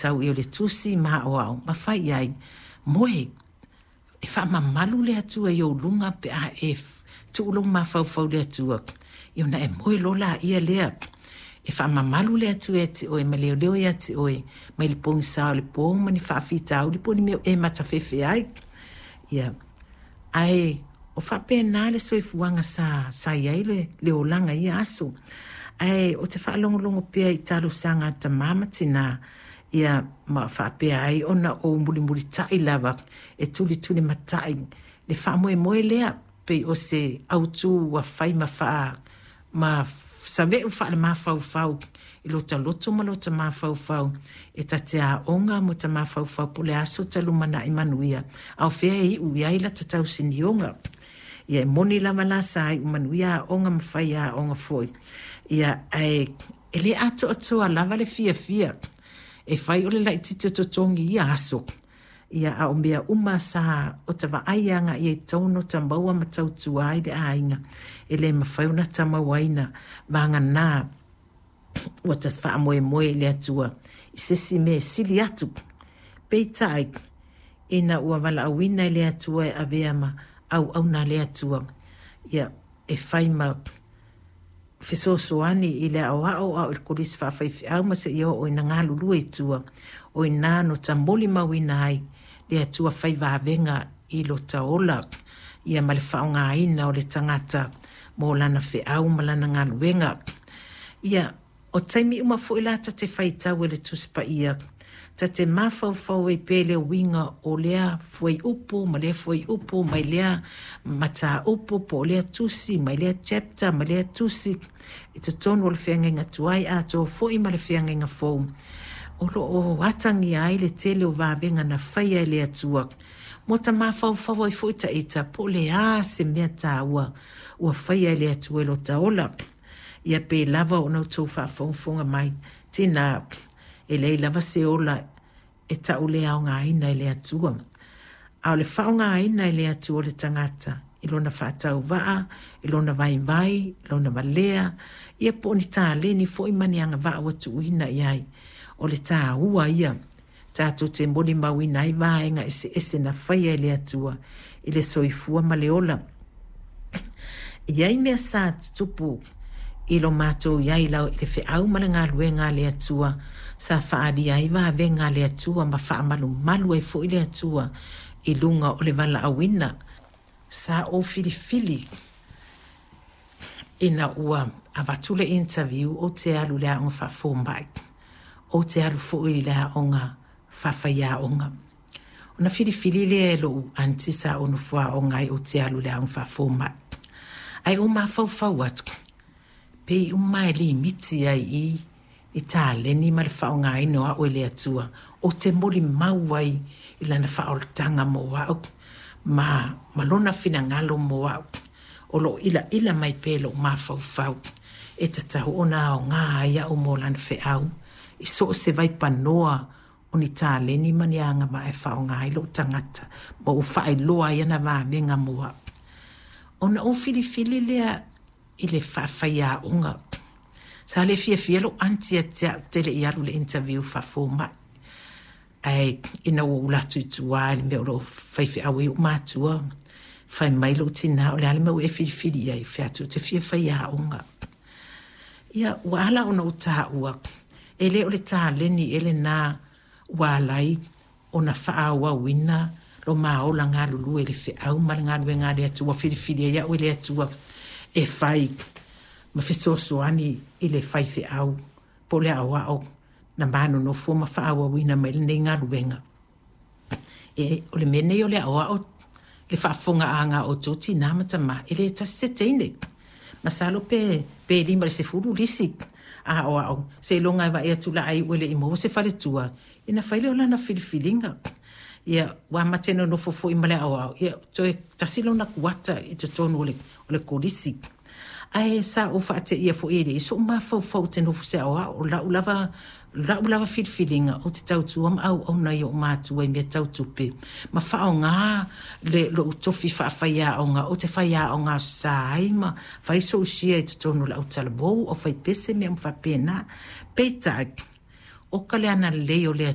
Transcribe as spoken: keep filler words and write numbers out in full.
faitau i o le tusi ma aoao ma fai i ai, moe, e faamamalu le Atua i ou luga pe a e tuu lou mafaufau i le Atua, ia ona e moe loa laia lea. E faamamalu le Atua ia te oe ma leoleo ia te oe mai le pogisa o le po ma ni faafitauli po o ni mea o e matafefe ai. Ia, ae o faapena le soifuaga sa, sa i ai le, le olaga i ia aso. Ae ou te faalogologo pea i talosaga a tama ma tinā, ia ma faapea ai ona ou mulimulitai lava e tulitulimatai le faamoemoe lea pei o se autu ua fai ma faa ma save'u faalemafaufau i lota loto ma lota mafaufau e ta te aoga mo ta mafaufau po o le a so ta lumanai manuia a o fea e iu i ai lata tausinioga. Ia e moni lava la sa iu manuia aoga ma fai aoga foi, ia ae e le atoatoa lava le fiafia e fai o le laitiiti o totogi i ia aso. Ia a o mea uma sa o ta vaai agai i ai e tatau ona ta maua ma tautua ai le aiga, e le mafai ona ta mauaina vagana ua ta faamoemoe i le Atua i se isi mea e sili atu. Peitai, ina ua valaauina e le Atua e avea ma auauna a le Atua, ia e fai ma fesoasoani i le aoao a o i le kolisi faafaifeau ma seia oo ina galulue i tua, o i ina no ta molimauina ai le Atua fai vavega i lota ola, ia ma le faaaogaina o le tagata mo lana feau ma lana galuega. Ia, o taimi uma foi la ta te faitau e le Tusi Paia, ta te mafaufau ai pea i le uiga o lea fuaiupu ma lea fuaiupu mai lea mataupu po o lea tusi mai lea chapter ma lea tusi i totonu o le feagaiga tuai atoa foi ma le feagaiga fou. O lo o atagia ai le tele o vavega na faia e le Atua mo ta mafaufau ai foi taita po o le a se mea taua ua faia e le Atua i lota ola. Ia pei lava ona outou faafogafoga mai, tinā, e leai lava se ola e tau le aogaina e le Atua. A o le faaaogaina e le Atua o le tagata i lona faatauvaa, i lona vaivai, i lona valea, ia po o ni taleni foi ma ni agavaa ua tuuina i ai. O le taua ia tatou te molimauina ai vaega eseese na faia e le Atua i le soifua ma le ola. E i ai mea sa tutupu i lo matou i ai i le feau ma le galuega a le Atua sa faaalia ai vavega a le Atua ma faamalumalu ai foi le Atua i luga o le valaauina. Sa ou filifili ina ua avatu le interview ou te alu i le aoga faafomai, ou te alu foi i le aoga faafaiaoga. Ona filifili lea e lou aunty sa ou nofo aoga ai ou te alu i le aoga faafomai. Ae ou mafaufau atu, pei uma e limiti ai i i taleni ma le faaaogaina o au e le Atua, ou te molimau ai i lana faaolataga mo au ma, ma lona finagalo mo au. O loo ilaila mai pea i lou mafaufau e tatau ona aoga ai au mo lana feau i so o se vaipanoa o ni taleni ma ni agavaa e faaaoga ai lou tagata ma ou faailoa ai ana vavega mo au. Ona ou filifili lea i le faafaiaoga. Sa le fiafia lou aunty ia te au te le i alu i le interview faafomai. Ae ina ua ou alu atu i tua i le mea o lo o faifeau ai ou matua, fai mai lou tinā, o le a le mea ua e filifili i ai? Fai atu, ou te fia faiaoga. Ia, ua ala ona ou taua, e le o le taleni ea lena ua ala ai ona faaauauina lo ma ola galulue i le feau ma le galuega a le Atua, ua filifili ai au e le Atua e fai ma fesoasoani i le faifeau po o le aoao na ma nonofo ma faaauauina mai lenei galuega. E, o le mea nei o le aoao le faafofogaaga a outou tinā ma tamā, e le tasi se teine. Masalo pe, pe lima i le sefulu lisi aoao, seiloga e vaai atu la a iu e le i maua se faletua, ia ona fai lea o lana filifiliga. Ia, ua ma te nonofo foi ma le aoao, ia toe tasi lona kuata i totonu o le, o le kolisi. Ae sa ou faateia foi e leai so'u mafaufau ou te nofo i se aoao, o la'u lava la'u lava filifiliga ou te tautua ma auauna i o'u matua i mea tau tupe ma faaaoga le lo'u tofi faafaiaoga ou te faiaoga aso sa ai ma fai so'u share i totonu o le autalavou, aufaipese mea uma faapena. Peitai, o ka le agalelei o le